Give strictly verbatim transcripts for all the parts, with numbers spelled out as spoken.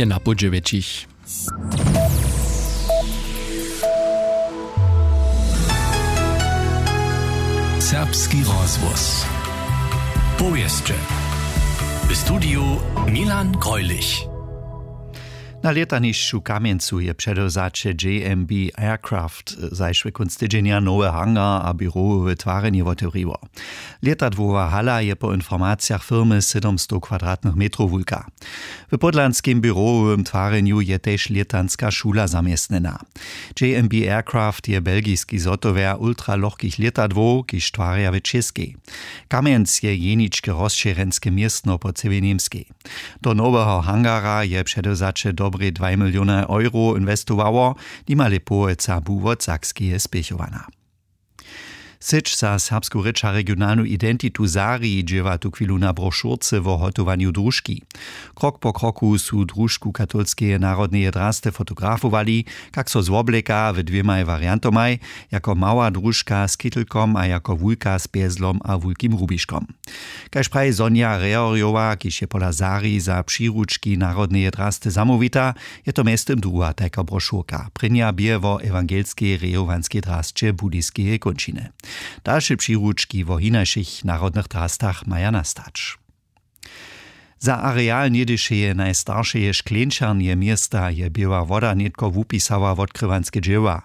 je na pół dźewjećich. Serbski rozhłos. Powěsće. W studiju Milan Greulich. Na lětanišću w Kamjencu je předewzaće J M B Aircraft zašły kónc tydźenja nowy hangar a běrowowe twarjenje wotewriło. Lětadłowa hala je po informacijach firmy sydomstow kwadratnych metrow wulka. W podlanskim běrowowym twarjenju je tež lětanska šula zaměstnjena. J M B Aircraft je belgiski zhotowjer ultralochkich lětadłow, kiž twarja w Čěskej. Kamjenc je jeničke rozšěrjenske městno po cyłej Němskej. Do noweho hangara je předewzaće dobrej dwaj miliony euro inwestowało, nimale połojca bu wot Sakskeje spěchowana. Syć za serbsku rěč a regionalnu identitu Zari dźěła tuchwilu na brošurce wo hotowanju družki. Krok po kroku su družku katolskeje narodneje drasty fotografowali, kak so zwobleka w dwěmaj wariantomaj, jako mała družka z kittelkom a jako wulka z pjezlom a wulkim rubiškom. Kaž praji Sonja Rehorjowa, kiž je pola Zari za přiručki narodneje drasty zamołwita, je to mjeztym druha tajka brošurka. Prěnja bě wo ewangelskej rejowanskej drasće budiskeje kónčiny. Dalše přiručki wo hinašich narodnych drastach maja nastać. Za areal něhdyšeje najstaršeje škleńčarnje města je běła woda nětko wupisała wotkrywanske dźěła.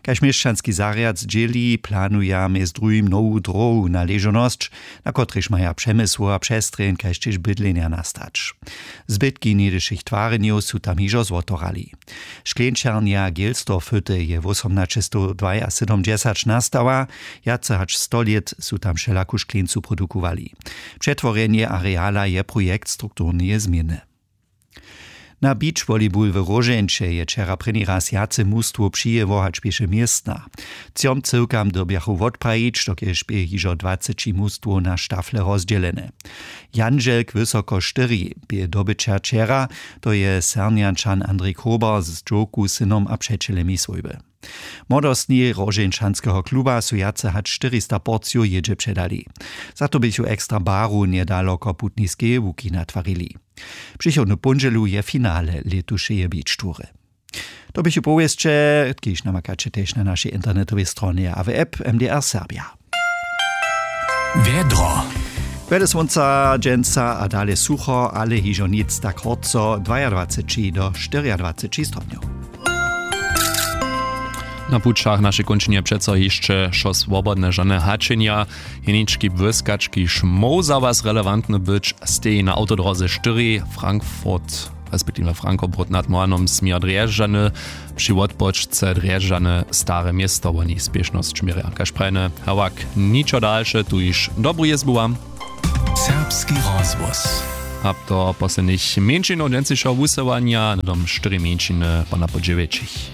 Kaž měšćanski zarjad zdźěli, planuja mjez druhim nowu dróhu na ležonosć, na kotrejž maja přemysłowa přestrjeń kaž tež bydlenja nastać. Zbytki něhdyšich twarjenjow su tam hižo zwotorali. Škleńčarnja Gelsdorfhütte je wósomnaćestowdwajasydomdźesać nastała. Wjace hač sto lět su tam wšelaku škleńcu produkowali. Přetworjenje areala je projekt strukturneje změny. Na beach volleyball w Róžeńće je wčera prěni raz wjace mustwow přijěło hač běše městna. Třom cyłkam dyrbjachu wotprajić, dokelž bě hižo dwaceći mustwow na štafle rozdźělene. Jandźelk wysoko štyri bě dobyćer wčera, to je Sernjančan Andrej Krober z dźowku, synom a přećelemi swójby. Młodostni Róžeńčanskeho kluba su wjace hač štyrista porcijow jědźe předali. Za to běchu ekstra baru njedaloko putniskeje łuki natwarili. Přichodnu póndźelu je finale lětušeje beach toury. To běchu powěsće, kiž namakaće tež na našej internetowej stronje a w app M D R Serbia. Wjedro. Wjele słónca dźensa a dale sucho, ale hižo nic tak horco, dwajadwaceći do štyriadwaceći stopnjow. Na pućach w našej kónčinje přeco hišće wšo swobodne, žane hačenja. Jenički błyskački šmoł za was relevantny być, steji na awtodróze štyri Frankfurt respektiwnje Frankobrot nad Mohanom směr Drježdźany, při wotpočce Drježdźany Stare Město woni spěšnosć měrja. Kaž prajene, hewak, ničo dalše, tuž dobru jězbu wam. Serbski rozhłos. A to poslednich mjeńšinow dźensnišeho wusyłanja, hnydom štyri mjeńšiny po na po dźewjećich.